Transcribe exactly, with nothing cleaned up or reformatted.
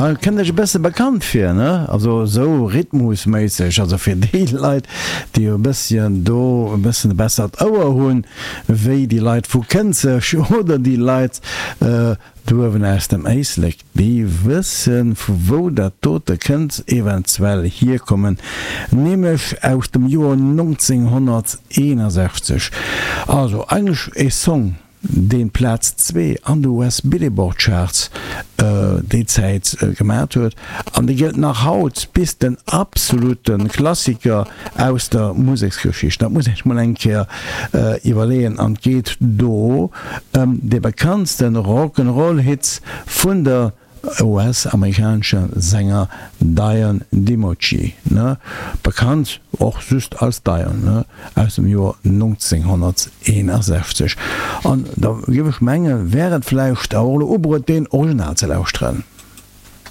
Kënnt Iech e bësse bekannt vir, ne? Also esou rhythmusméisseg, also fir déi Leit, déi e bësschen do e bëssen e bessert Ouer hunn, wéi déi Leit vu Kënzeg oder déi Leit do uewen aus dem Éislek, déi wëssen, vu wou dat dote kënnt eventuell hierkommen, nämlech aus dem Joer nonzénghonnerteenasechzeg. Also eigentlech e Song, deen Plaz zwee an de U S Billboard Charts déi Zäit gemat huet an dee gëllt nach haut bis den absolute Klassiker aus der Museksgeschicht. Dat muss een sech mol eng Kéier iwwerleeën an et geet do ëm dee bekanntste Rock'n'Roll Hit vun der U S-amerikanesche Sänger Dion DiMucci, bekannt och just als Dion, aus dem Joer nonzénghonnerteenasechzeg. An da géif ech mengen, wär et vläicht och elo ubruet, deen Original ze lauschteren.